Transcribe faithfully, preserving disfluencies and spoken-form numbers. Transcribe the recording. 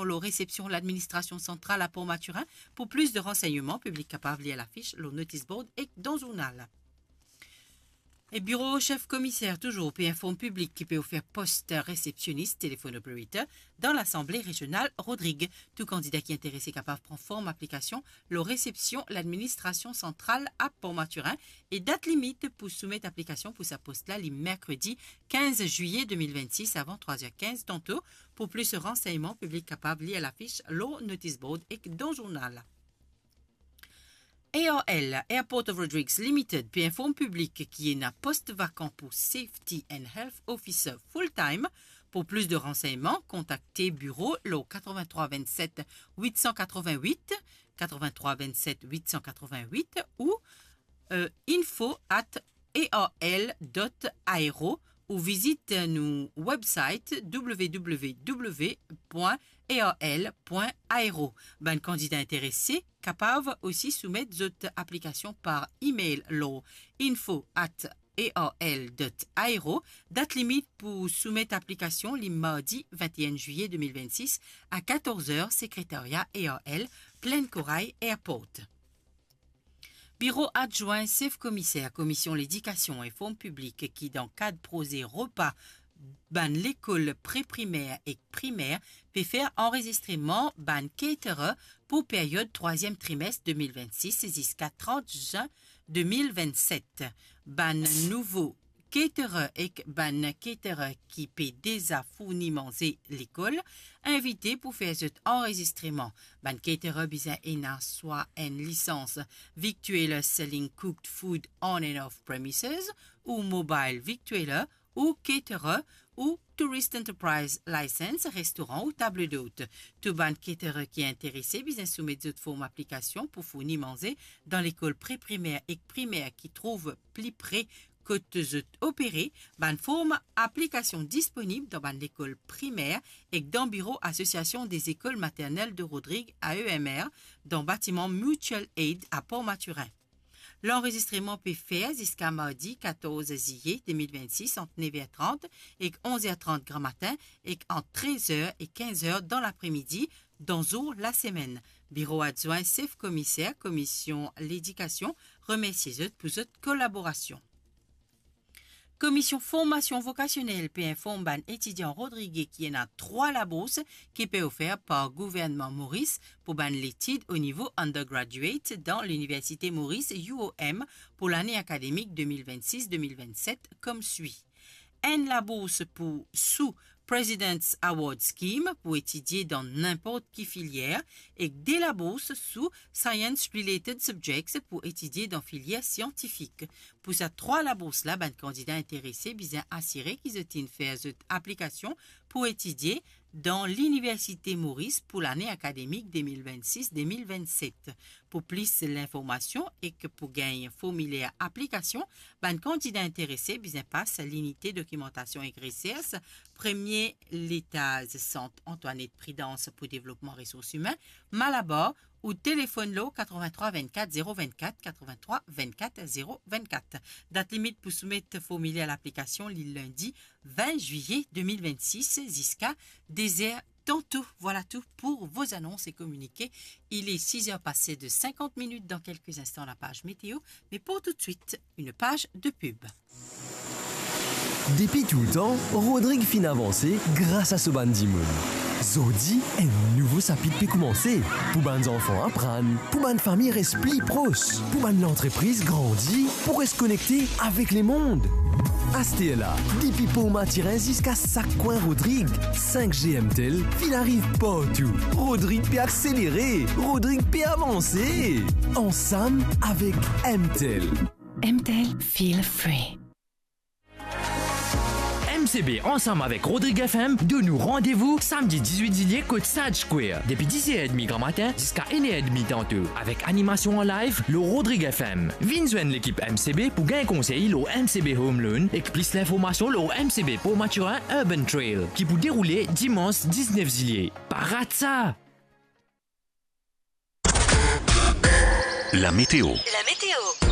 lor resepsion ladministrasion santral a Port Mathurin. Pou plis de ransegneman, piblik kapav lir lafis lor notis board ek dan zournal. E biro sef komiser touzour pe inform piblik ki pe ofer post resepsionis, telephone operator, dan Lasanble Rezional Rodrig. Tou kandida ki interese kapav pran form aplikasion lor resepsion ladministrasion santral a Port Mathurin e dat limit pou soumet aplikasion pou sa post la li merkredi kinz zwiye de mil vennsis avan trwa zer kinz tanto. Pou plis ransegneman, piblik kapav lir lafis lor notis board ek dan zournal. A R L, Airport of Rodrigues Limited, pe inform piblik ki ena post vakan pou Safety and Health Officer full time. Pou plis de ransegneman, kontakte biro lor katrevin-trwa vinn-set wit san katrevin-wit, katrevin-trwa vinn-set wit san katrevin-wit ou, euh, info at A R L dot aero ou vizit nou website w w w point a r l point aero. Bann kandida interese kapav osi soumet zot aplikasion par email lor info at a r l dot aero. Dat limit pou soumet aplikasion li mardi vinte et un zwiye de mil vennsis a katorz er, sekretaria A R L, Plaine Corail Airport. Biro adwin sef komiser Komision Ledikasion inform piblik ki dan kad proze repa bann lekol pre-primer ek primer pe fer anrezistreman bann caterer pou period trwaziem trimes de mil vennsis ziska trant zin de mil vennset. Bann nouvo caterer ek bann caterer ki pe deza fourni manze lekol invite pou fer zot anrezistreman. Bann caterer bizin ena swa enn lisans victualler selling cooked food on and off premises, ou mobile victualler, ou caterer, ou Tourist Enterprise License, restoran ou table d'hôte. Tou bann caterer ki interese bizin soumet zot form aplikasion pou fourni manze dan lekol pre-primer ek primer ki trouv pli pre kot zot opere. Bann form aplikasion disponib dan bann lekol primer ek dan biro Association des Écoles Maternelles de Rodrigues, A E M R, dan batiman Mutual Aid a Port Mathurin. Lanrezistreman pe fer ziska mardi katorz zwiye de mil vennsis ant nev er trant ek onz er trant gramatin ek ant trez er e kinz er dan lapremidi dan zour lasemenn. Biro adwin sef komiser Komision Ledikasion remersie zot pou zot kolaborasion. Komision Formasion Vokasionel pe inform bann etidian Rodrig ki ena trwa labours ki pe ofer par gouvernman Moris pou bann letid o nivo undergraduate dan Liniversite Moris, U O M, pou lane akademik de mil vennsis de mil vennset koumswi. Enn labours pou sou President's Award Scheme pou etidie dan ninport ki filier, ek de labours sou Science Related Subjects pou etidie dan filier siantifik. Pou sa trwa labours la, bann kandida interese bizin asire ki zot inn fer zot aplikasion pou etidie dan Liniversite Moris pou lane akademik de mil vennsis de mil vennset. Pou plis linformasion ek pou gagn formiler aplikasion, bann kandida interese bizin pas linite dokimantasion ek resers, premie letaz Sant Antoinette Prudence pou devlopman resours imin, Malabar, ou telefonn lor katrevin-trwa vinn-kat zero vinn-kat, katrevin-trwa vinn-kat zero vinn-kat. Dat limit pou soumet formiler laplikasion li lindi vin zwiye de mil vennsis ziska de zer tanto. Voilà tout pour vos annonces et communiqués. Il est six heures passées de cinquante minutes. Dans quelques instants, la page météo. Mais pour tout de suite, une page de pub. Depi toultan, Rodrig finn avanse gras a so bann dimoun. Zordi, enn nouvo sapit pe koumanse. Pou bann zanfan aprann, pou bann fami res pli pros, pou bann lantrepriz grandi, pou res konekte avek lemond. Asterla, depi Port Mathurin ziska sak kwin Rodrig, sink G MTEL finn ariv partou. Rodrig pe akselere, Rodrig pe avanse. Ansam avek MTEL. MTEL, feel free. M C B ansam avek Rodrig F M donn nou randevou samdi dizwit zilye kot Sage Square, depi diz er edmi gramatin ziska enn er edmi tanto, avek animasion an live lor Rodrig F M. Vinn zwenn lekip M C B pou gagn konsey lor M C B Home Loan ek plis linformasion lor M C B Port Mathurin Urban Trail ki pou deroule dimans diznef zilye. Pa rat sa! La météo. La météo.